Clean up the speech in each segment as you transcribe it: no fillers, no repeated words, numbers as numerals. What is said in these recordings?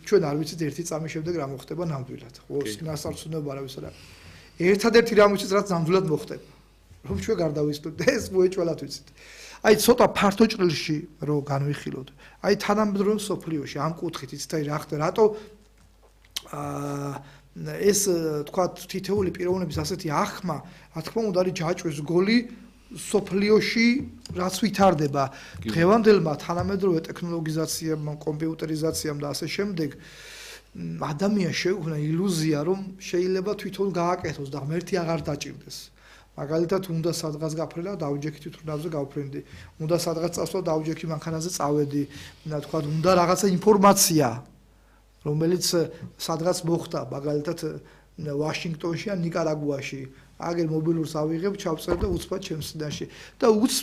ჩვენ არ ვიცით ერთი წამის შემდეგ რა მოხდება ნამდვილად. ხო, ნასარცუნოება არავის არ აქვს. ერთადერთი რამ ვიცით, რაც ნამდვილად მოხდება. რომ ჩვენ გარდავისვლით, ეს მოეჭველად ვიცით. აი ცოტა ფართო ჭრილში რომ განვიხილოთ. აი თანამედროვე სოფლიოში ამ კუთხით იცით აი რა ხდება, რატო ეს თქვა თითეული პიროვნების ასეთი ახმა, რა თქმა უნდა არის ჯაჭვის გოლი სოფლიოში რაც ვითარდება დღევანდელმა თანამედროვე ტექნოლოგიზაციამ, კომპიუტერიზაციამ და ასე შემდეგ ადამიანს შეუქმნა ილუზია რომ შეიძლება თვითონ გააკეთოს და ღმერთი აღარ დაჭირდეს. მაგალითად უნდა სადღაც გაფრენა დავჯექი თვითონავზე გავფრენდი. უნდა სადღაც წასვლა დავჯექი მანქანაზე წავედი. თქვა უნდა რაღაცა ინფორმაცია რომელიც სადღაც მოხდა მაგალითად ვაშინგტონში ან ნიკარაგუაში. აგერ მობილურს ავიღებ, ჩავწერებ და უცბად ჩემს სიდანში.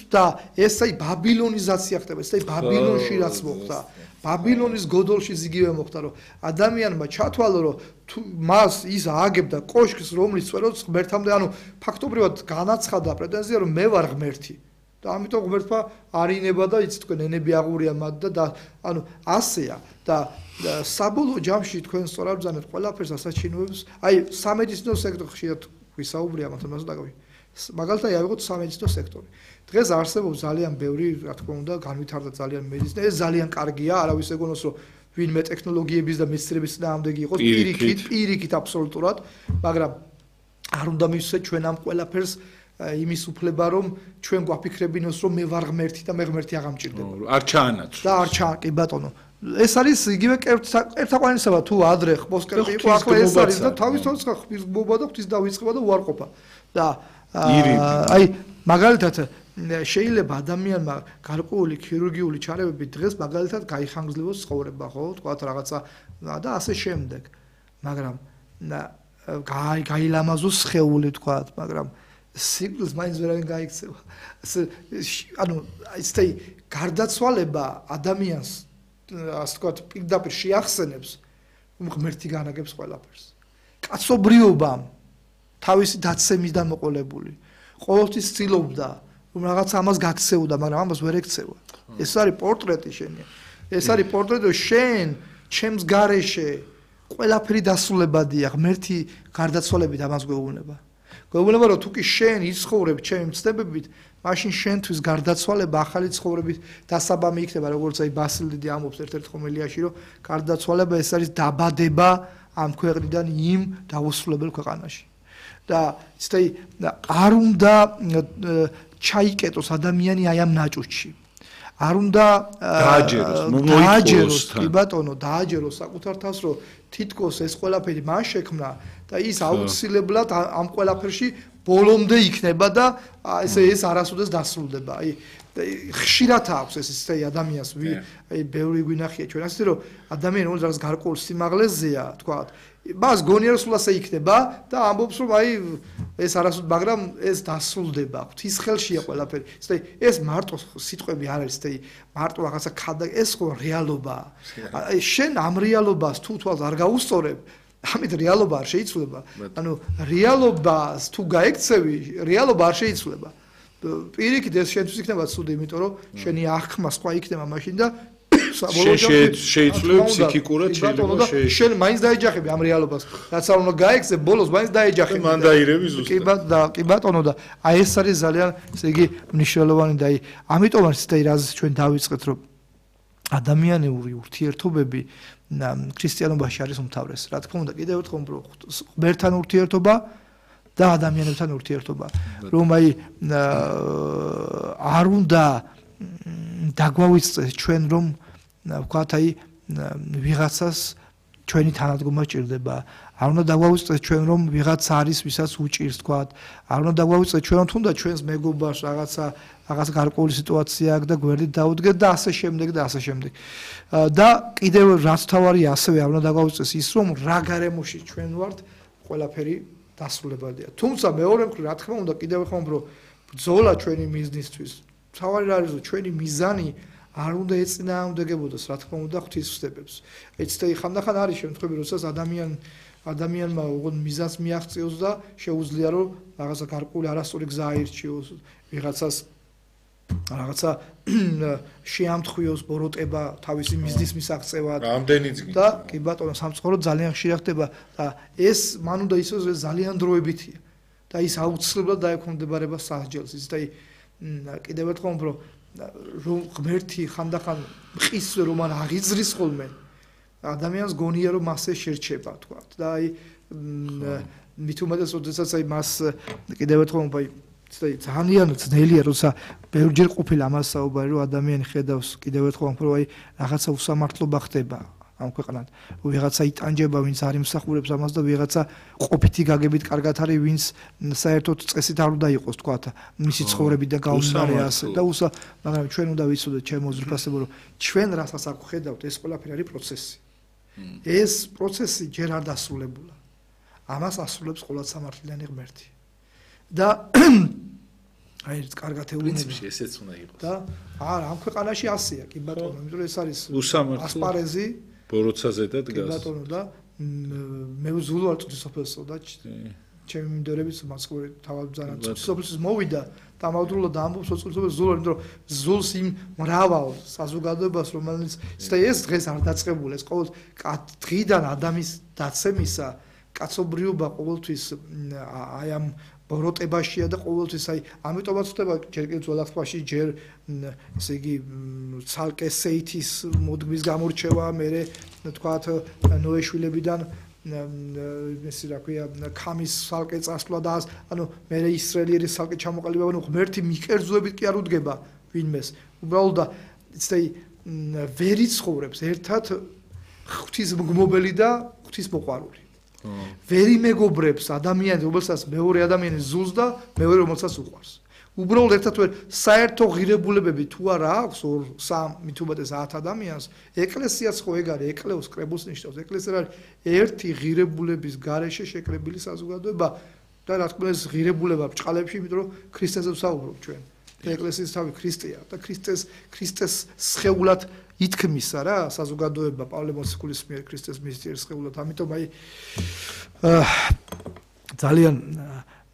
და ეს აი ბაბილონიზაცია ხდება, ეს აი ბაბილონში რაც მოხდა. ბაბილონის გოდოლში იგივე მოხდა, რომ ადამიანმა ჩათვალო, რომ მას ის ააგებდა კოშკს, რომლის წვეროც ღმერთამდე, ანუ ფაქტობრივად განაცხადა პრეტენზია, რომ მე ვარ ღმერთი. და ამიტომ ღმერთმა არინება და იცით თქვენ ენები აღურია მათ და ანუ ასეა და საბოლოო ჯამში თქვენ სწორად ბრძანეთ ყველაფერს ასაჩინოებს. აი სამედიცინო სექტორში ვისაუბრია მათემატიკას დაკავებით. მაგალითად ავიღოთ სამედიცინო სექტორი. დღეს არსებობს ძალიან ბევრი, რა თქმა უნდა, განვითარდა ძალიან მედიცინა. ეს ძალიან კარგია, არავის ეგონოს, რომ ვინმე ტექნოლოგიების და მეცნიერების წინააღმდეგი იყოს, პირიქით აბსოლუტურად, მაგრამ არ უნდა მივცეთ ჩვენ ამ ყველაფერს იმის უფლება, რომ ჩვენ გვაფიქრებინოს, რომ მე ვარ ღმერთი და მე ღმერთი აღამჭირდება. არ ჩაანაცვლოს. და არ კი ბატონო. ეს არის იგივე ერთაყვანისება თუ ადრე ხმოსკერპი იყო ახლა ეს არის და თავისთავად ხმობა და ღვთის დავიწყება და უარყოფა და აი მაგალითად შეიძლება ადამიანმა გარკვეული ქირურგიული ჩარევები დღეს მაგალითად გაიხანგრძლივოს ცხოვრება ხო თქვათ რაღაცა და ასე შემდეგ მაგრამ გაილამაზოს სხეული თქვათ მაგრამ სიკვდილს მაინც ვერავინ გაიქცევა ანუ ისეთი გარდაცვალება ადამიანს ასე ვთქვათ, პირდაპირ შეახსენებს, რომ ღმერთი განაგებს ყველაფერს. კაცობრიობამ თავისი დაცემისგან მოყოლებული. ყოველთვის ცდილობდა, რომ რაღაც ამას გაქცეოდა, მაგრამ ამას ვერ ექცევა. ეს არის პორტრეტი შენი. ეს არის პორტრეტი, რომ შენ, ჩემს გარეშე ყველაფერი დასრულებადია, ღმერთი გარდაცვალებით ამას გვეუბნება. გვეუბნება, რომ თუ კი შენ იცხოვრებ ჩემი მცდელობით, მაშინ შენთვის გარდაცვალება ახალი ცხოვრებით დასაბამი იქნება, როგორც აი ბასილ დიდი ამბობს ერთ-ერთ ხომილიაში, რომ გარდაცვალება ეს არის დაბადება ამ ქვეყნიდან იმ დაუსრულებელ ქვეყანაში. და ისეთი არ უნდა ჩაიკეტოს ადამიანი აი ამ ნაჭუჭში. არ უნდა დააჯეროს, კი ბატონო, დააჯეროს საკუთარ თავს, რომ თითქოს ეს ყველაფერი მან შექმნა და ის აუცილებლად ამ ყველაფერში ბოლომდე იქნება და ეს არასოდეს დასრულდება. აი ხშირად აქვს ეს ისეთი ადამიანს, აი ბევრი გვინახია ჩვენ ასე რომ ადამიანი რომელიც რაღაც გარკვეულ სიმაღლეზეა, თქვათ, მას გონია რომ სულ ასე იქნება და ამბობს რომ აი ეს არასოდეს, მაგრამ ეს დასრულდება. ღვთის ხელშია ყველაფერი. ეს მარტო სიტყვები არ არის, ესეთი მარტო რაღაცა ეს ხო რეალობაა. აი შენ ამ რეალობას თუ თვალს არ გაუსწორებ ამით რეალობა არ შეიცვლება. ანუ რეალობას თუ გაექცევი, რეალობა არ შეიცვლება. პირიქით ეს შენთვის იქნება ცუდი, იმიტომ რომ შენი აღქმა სხვა იქნება მაშინ და შეიცვლებ ფსიქიკურად შეიძლება შენ მაინც დაეჯახები ამ რეალობას. რაც არ უნდა გაექცე, ბოლოს მაინც დაეჯახები. მან დაირევი ზუსტად. კი ბატონო და აი ეს არის ძალიან ესე იგი მნიშვნელოვანი და აი ამიტომ არის ეს რაც ჩვენ დავიწყეთ რომ ადამიანური ურთიერთობები ქრისტიანობაში არის უმთავრესი. რა თქმა უნდა, კიდევ ერთხელ ღმერთთან ურთიერთობა და ადამიანებთან ურთიერთობა. რომ აი არ უნდა დაგვავიწყდეს ჩვენ რომ ვქოთ აი ვიღაცას ჩვენი თანადგომა სჭირდება. არ უნდა დაგვავიწყდეს ჩვენ რომ ვიღაც არის ვისაც უჭირს ვქოთ. არ უნდა დაგვავიწყდეს ჩვენ რომ თუნდაც ჩვენს მეგობარს რაღაც გარკვეული სიტუაცია აქვს და გვერდით დაუდგეთ და ასე შემდეგ და ასე შემდეგ. და კიდევ რაც თავარია ასევე არ უნდა დაგვავიწყდეს ის რომ რა გარემოში ჩვენ ვართ ყველაფერი დასრულებადია. თუმცა მეორე მხრივ რა თქმა უნდა კიდევ ხომ რომ ბრძოლა ჩვენი მიზნისთვის თავარი არის რომ ჩვენი მიზანი არ უნდა ეწინააღმდეგებოდეს რა თქმა უნდა ღვთის ცდებებს. ეცდე ხანდახან არის შემთხვევები როდესაც ადამიანმა უგონ მიზანს მიაღწიოს და შეუძლია რომ რაღაცა გარკვეული არასწორი გზა აირჩიოს ვიღაცას რაღაცა შეამთხვიოს ბოროტება თავისი მიზნის მისაღწევად ამდენიც და კი ბატონო სამწუხაროდ ძალიან ხშირად ხდება და ეს მან უნდა ისოს ძალიან დროებითია და ის აუცილებლად დაექვემდებარება სასჯელს ის და კიდევ ერთხელ რომ ღმერთი ხანდახან მყის რომ არ აღიძრის ხოლმე ადამიანს გონია რომ მასე შერჩება თქვა და აი მით უმეტეს როდესაც აი მას კიდევ ერთხელ ძალიან ძნელია როცა ბევრჯერ ყოფილი ამას საუბარი რომ ადამიანი ხედავს კიდევ ერთხელ რომ აი რაღაცა უსამართლობა ხდება ამ ქვეყანად ვიღაცა იტანჯება ვინც არ იმსახურებს ამას და ვიღაცა ყოფითი გაგებით კარგად არის ვინც საერთოდ წესით არ უნდა იყოს თქვა მისი ცხოვრებიდან გაუზარია ასე და მაგრამ ჩვენ უნდა ვიცოდეთ ჩემო ზრფასებო რომ ჩვენ რასაც აქ ხედავთ ეს ყველაფერი არის პროცესი ეს პროცესი ჯერ არ დასრულებულა ამას ასრულებს ყოვლადსამართლიანი ღმერთი და აი ეს კარგად ეუბნება ესეც უნდა იყოს და არა ამ ქვეყანაში ასეა კი ბატონო იმიტომ რომ ეს არის ასპარეზი ბოროცაზე და დგას კი ბატონო და მე ვზულო არ წუთი სოფელსო და ჩემი მინდორებიც მასკოვი თავად ძალიან წუთი სოფელსის მოვიდა და ამავდროულად ამბობს წუთი სოფელს ზულ იმიტომ რომ ზულს იმ მრავალ საზოგადოებას რომელიც ეს დღეს არ დაწყებულა ეს ყოველ დღიდან ადამიანის დაცემისა კაცობრიობა ყოველთვის აი ამ ბოროტებაშია და ყოველთვის აი ამიტომაც ხდება ჯერ კიდევ ძველახტბაში ჯერ ესე იგი ცალკე სეითის მოდგმის გამორჩევა მერე თქვათ ნოეშვილებიდან ესე რა ქვია ქამის ცალკე წასვლა და ანუ მერე ისრაელიერის ცალკე ჩამოყალიბება ანუ ღმერთი მიკერძოებით კი არ უდგება ვინმეს უბრალოდ ისე ვერ იცხოვრებს ერთად ღვთისმგმობელი და ღვთისმოყვარული ვერ იმეგობრებს ადამიანს, რომელსაც მეორე ადამიანი ზულს და მეორე რომელსაც უყვარს. უბრალოდ ერთად ვერ საერთო ღირებულებები თუ არა აქვს 2-3 მით უმეტეს 10 ადამიანს, ეკლესიაც ხო ეგ არის, ეკლეოს კრებულს ნიშნავს. ეკლესია არის ერთი ღირებულების გარეშე შეკრებილი საზოგადოება და რა თქმა უნდა ეს ღირებულება ბრჭყალებში, იმიტომ რომ ქრისტეზე ვსაუბრობ ჩვენ. ეკლესიის თავი ქრისტეა და ქრისტეს სხეულად ითქმისა რა საზოგადოება პავლე მოციქულის მიერ ქრისტეს მისიერ სხეულად ამიტომ აი ძალიან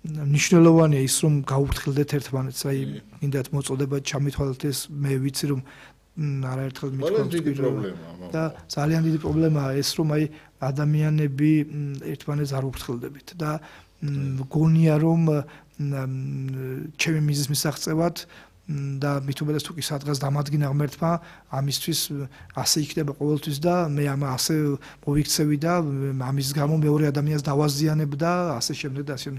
მნიშვნელოვანია ის რომ გაუფრთხილდეთ ერთმანეთს აი კიდევ მოწოდება ჩამithვალეთ ეს მე ვიცი რომ არაერთხელ მithქვამთ და ძალიან დიდი პრობლემაა ეს რომ აი ადამიანები ერთმანეთს არ უფრთხილდებით და გონია რომ ჩემი მიზნის მისაღწევად და მით უმეტეს თუ კი სადღაც დამადგინა ღმერთმა ამისთვის ასე იქნება ყოველთვის და მე ამ ასე მოვიქცევი და ამის გამო მეორე ადამიანს დავაზიანებ და ასე შემდეგ და ასე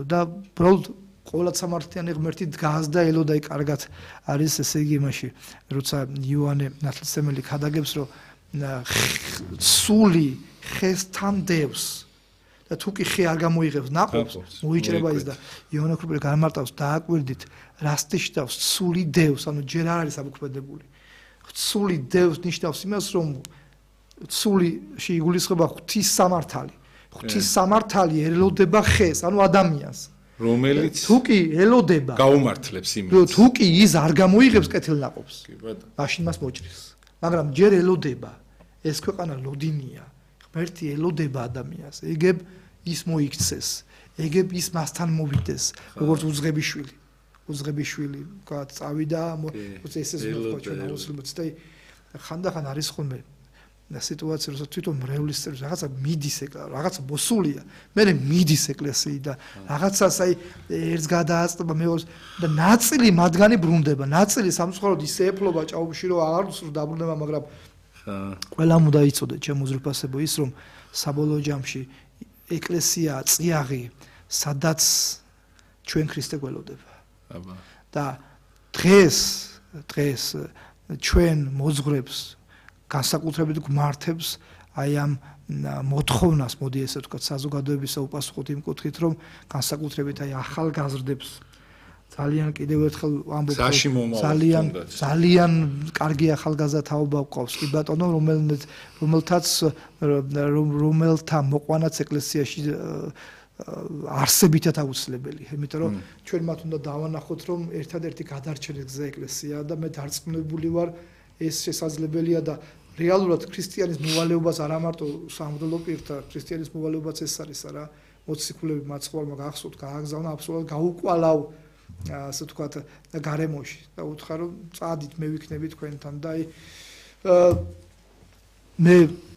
და უბრალოდ ყოვლადსამართლიანი ღმერთი დგას და ელოდაი კარგად არის ესე იგი იმაში როცა იოანე ნათლისმცემელი ხადაგებს რომ სული ხესთან დევს და თუ კი ხე არ გამოიღებს ნაყოფს მოიჭრება ის და იოანე ქრუბელი გამარტავს დააკვირდით რას ნიშნავს სული დევს ანუ ჯერ არ არის ამოქმედებული სული დევს ნიშნავს იმას რომ სულიში იგულისხმება ღვთის სამართალი ღვთის სამართალი ელოდება ხეს ანუ ადამიანს რომელიც თუ კი ელოდება გაუმართლებს იმის თუ კი ის არ გამოიღებს კეთილნაყოფს კი ბატონო მაშინ მას მოჭრის მაგრამ ჯერ ელოდება ეს ქვეყანა ლოდინია ღმერთი ელოდება ადამიანს ეგებ ის მოიქცეს ეგებ ის მასთან მოვიდეს როგორც უძღებიშვილი თქვა წავიდა ეს მოხდა აუცილებლად და ხანდახან არის ხოლმე სიტუაცია როცა თვითონ მრევლის წევრი რაღაცა მიდის ეკლესია რაღაცა მოსულია მე მიდის ეკლესიიდან რაღაცას აი ერთს გადააწდება მეორეს და ნაწილი მათგანი ბრუნდება ნაწილი სამწუხაროდ ისე ეფლობა ჭაობში რომ აღარ დაბრუნება მაგრამ ყველამ უნდა იცოდეთ ჩემო ზრფასებო ის რომ საბოლოო ჯამში ეკლესია წიაღი სადაც ჩვენ ქრისტე გველოდება და დღეს ჩვენ მოძღვრებს განსაკუთრებით გმართებს აი ამ მოთხოვნას მოდი ესე ვთქვათ საზოგადოებისა უპასუხოთ იმ კუთხით რომ განსაკუთრებით აი ახალგაზრდებს ძალიან კიდევ ერთხელ ამბობ ძალიან კარგი ახალგაზრდა თაობა გვყავს კი ბატონო რომელთა მოყვანაც ეკლესიაში არსებითად აუცილებელია იმიტომ რომ ჩვენ მათ უნდა დავანახოთ რომ ერთადერთი გადარჩენის გზა ეკლესიაა და მე დარწმუნებული ვარ ეს შესაძლებელია და რეალურად ქრისტიანის მოვალეობას არა მარტო სამღვდელო პირთა ქრისტიანის მოვალეობაც ეს არის არა მოციქულები მაცხოვარმა გახსოვთ გააგზავნა აბსოლუტურად გაუკვალავ ასე ვთქვათ გარემოში და უთხრა რომ წადით მე ვიქნები თქვენთან და აი მე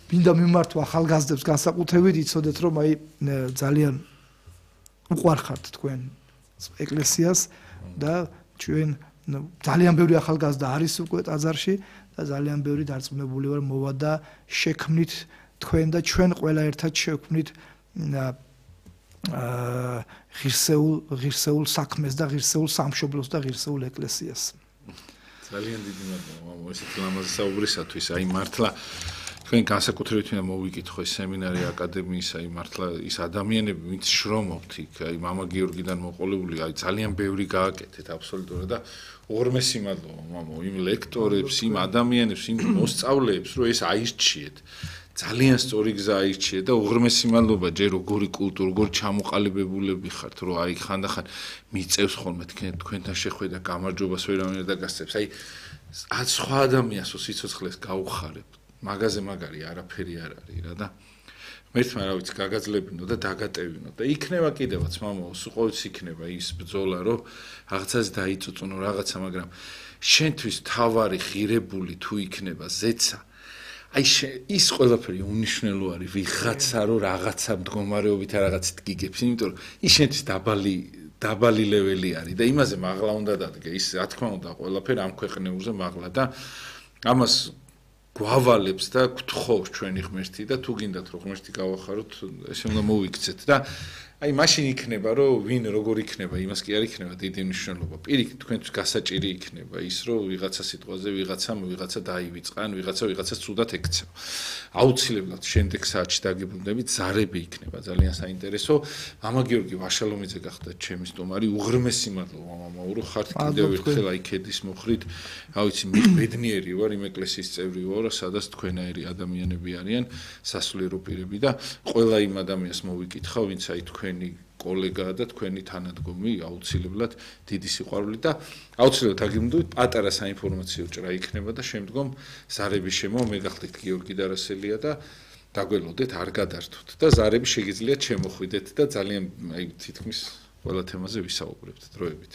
მინდა მიმართვა ახალგაზრდებს განსაკუთრებით იცოდეთ რომ აი ძალიან უყვარხართ თქვენ ეკლესიას და ჩვენ ძალიან ბევრი ახალგაზრდა არის უკვე ტაძარში და ძალიან ბევრი დარწმუნებული ვარ მოვა და შექმნით თქვენ და ჩვენ ყველა ერთად შექმნით ღირსეულ საქმეს და ღირსეულ სამშობლოს და ღირსეულ ეკლესიას. ძალიან დიდი მადლობა მამო ესეთი ლამაზი საუბრისათვის. აი მართლა თქვენ განსაკუთრებით მინდა მოვიკითხო ეს სემინარი აკადემიის აი მართლა ის ადამიანები ვინც შრომობთ იქ აი მამა გიორგიდან მოყოლებული აი ძალიან ბევრი გააკეთეთ აბსოლუტურად და უღრმესი მადლობა მამო იმ ლექტორებს იმ ადამიანებს იმ მოსწავლეებს რომ ეს აირჩიეთ ძალიან სწორი გზა აირჩიეთ და უღრმესი მადლობა ჯერ როგორი კულტურა როგორ ჩამოყალიბებულები ხართ რომ აი ხანდახან მიწევს ხოლმე თქვენთან შეხვედრა გამარჯვებას ვერავინ არ დაგასწრებს აი სხვა ადამიანს სიცოცხლეს გაუხარებთ მაგაზე მაგარი არაფერი არ არის რა და მერტმა რა ვიცი გაგაძლებინო და დაგატევინო და იქნება კიდევაც მამო სულ იქნება ის ბრძოლა რომ რაღაცას დაიწუწუნო რაღაცა მაგრამ შენთვის თავარი ღირებული თუ იქნება ზეცა აი ის ყველაფერი უნიშნელო არის ვიღაცა რომ რაღაცა მდგომარეობით რაღაცით გიგებს იმიტომ რომ ის შენთვის დაბალი ლეველი არის და იმაზე მაღლა უნდა დადგე ის რა თქმა უნდა ყველაფერი ამ ქვეყნეულზე მაღლა და ამას გვავალებს და გთხოვს ჩვენი ღმერთი და თუ გინდათ რომ ღმერთი გავახაროთ ესე უნდა მოვიქცეთ და აი მაშინ იქნება რომ ვინ როგორ იქნება იმას კი არ იქნება დიდი მნიშვნელობა პირიქით თქვენთვის გასაჭირი იქნება ის რომ ვიღაცა სიტყვაზე ვიღაცა დაივიწყან ვიღაცას ცუდად ეკცევა აუცილებლად შემდეგ საათში დაგიბრუნდებით ზარები იქნება ძალიან საინტერესო მამა გიორგი ვაშალომიძე გახდა ჩემი სტუმარი უღრმესი მადლობა მამაო რომ ხართ კიდევ ერთხელ აი ქედის მოხრით რა ვიცი მე ბედნიერი ვარ იმ ეკლესიის წევრი ვარ სადაც თქვენაერი ადამიანები არიან სასულიერო პირები და ყველა იმ ადამიანს მოვიკითხავ ვინც აი თქვენი კოლეგაა და თქვენი თანადგომი აუცილებლად დიდი სიყვარული და აუცილებლად აგიმდოთ პატარა საინფორმაციო ჭრა იქნება და შემდგომ ზარების შემო მე გახდით გიორგი დარასელია და დაგველოდეთ არ გადართოთ და ზარები შეგიძლიათ შემოხვიდეთ და ძალიან აი თითქმის ყველა თემაზე ვისაუბრებთ დროებით